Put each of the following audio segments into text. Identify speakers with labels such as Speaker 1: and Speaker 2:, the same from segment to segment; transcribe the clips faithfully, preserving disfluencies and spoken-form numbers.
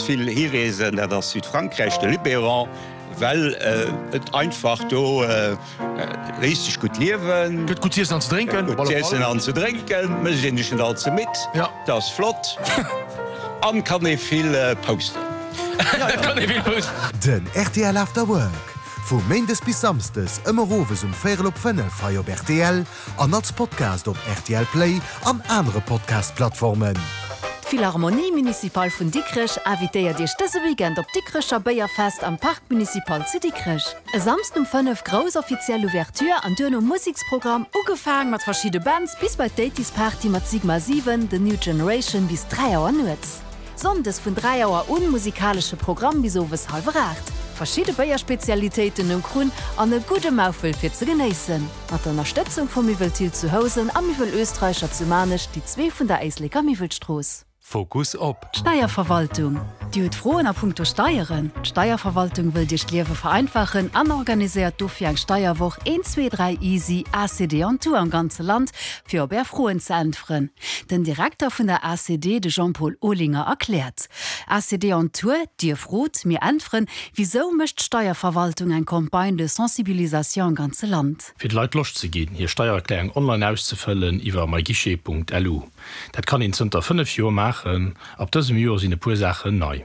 Speaker 1: vill hireesen, dat ass Südfrankräich, de Luberon, well et einfach do léisst sech gutt liewen.
Speaker 2: Gëtt gutt z'iessen an ze drénken.
Speaker 1: Gutt z'iessen an ze drénken, mécht een sech net all ze midd, dat ass flott an kann ee vill posten.
Speaker 3: Den rtl After Work vu méindes bis samsdes ëmmer owes um véierel op fënnef hei op rtl an als Podcast op rtl Play an anere Podcast-Plattformen.
Speaker 4: D'Philharmonie Municipale vun Dikrech invitéiert Iech dëse Weekend op d'Dikrecher Béierfest am Parc Municipal zu Dikrech. E Samsden um fënnef grouss offiziell Ouverture an duerno Museksprogramm, ugefaang mat verschidde Bands bis bei d'Eighties Party mat Sigma siwen, The New Generation bis dräi Auer nuets. Sonndes vun dräi Auer un musikalesche Programm bis owes hallwer aacht. Verschidde Béierspezialitéiten um Krunn an e gudde Maufel fir ze genéissen. Mat der Ënnerstëtzung vu Miwwel Thill zu Housen a Miwwel Österreicher zu Maarnech, déi zwee vun der Éisleker Miwwelstrooss.
Speaker 5: Fokus op.
Speaker 4: D'Steierverwaltung. Dir hutt Froen a punkto Steieren? D'Steierverwaltung wëllt Iech d'Liewe vereinfachen an organiséiert dofir eng Steierwoch een, zwee, dräi easy A C D on Tour am ganze Land, fir op Är Froen ze äntweren. Den Direkter vun der A C D, de Jean-Paul Olinger, erkläert. A C D on Tour, Dir frot, mir äntweren. Wisou mécht d'Steierverwaltung eng Campagne de sensibilisation am ganze Land?
Speaker 6: Fir de Leit Loscht ze ginn, hir Steiererklärung online auszefëllen iwwer myguichet Punkt L U. Dat kann een zënter fënnef Joer maachen. Ab dësem Joer sinn e puer Saachen nei.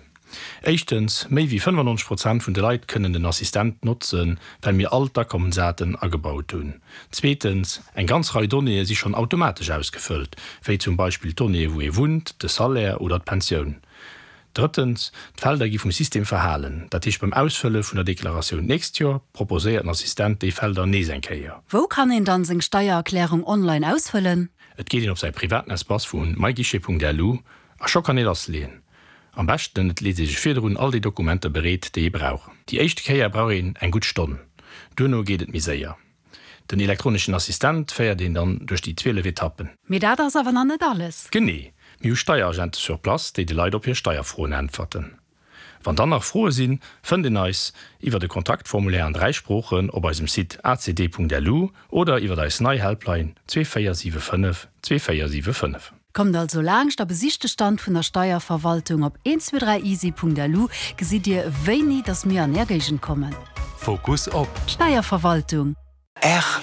Speaker 6: Éischtens, méi wéi fënnefannonzeg Prozent vun de Leit kënnen den Assistent notzen, well mir all d'Akommensdaten agebaut hunn. Zweetens, eng ganz Rei Donnéeë si schonn automatesch ausgefëllt, wéi zum Beispill d'Donnéeë wou ee wunnt, de Salaire oder d'Pensioun. Drëttens, d'Felder gi vum System verhalen. Dat heescht beim Ausfëlle vun der Deklaratioun d'nächst Joer proposéiert den Assistent déi Felder nees eng Kéier.
Speaker 4: Wou kann een dann seng Steiererklärung online ausfëllen?
Speaker 6: Et geet een op säi privaten Espace vu myguichet Punkt L U a scho kann ee lassleeën. Am beschten et leet ee sech virdrun all déi Dokumenter bereet, déi ee brauch. Déi éischt Kéier brauch een eng gutt Stonn. Duerno geet et méi séier. Den elektroneschen Assistent féiert een dann duerch déi zwielef Etappen.
Speaker 4: Mee dat ass awer nach net alles.
Speaker 6: Genee, mir hu Steieragente sur place, déi de Leit op hir Steierfroen äntwerten. Wann dann nach Froe sinn, fënnt een eis iwwer de Kontaktformulaire an dräi Sproochen op eisem Site A C D Punkt L U oder iwwer eis nei Helpline zwee véier siwe fënnef zwee véier siwe fënnef.
Speaker 4: Kommt also laanscht a besicht de Stand vun der Steierverwaltung op eent zwee dräi easy Punkt L U gesitt Dir wéini dass mir an Är Géigend kommen.
Speaker 5: Fokus op.
Speaker 4: D'Steierverwaltung.
Speaker 5: R.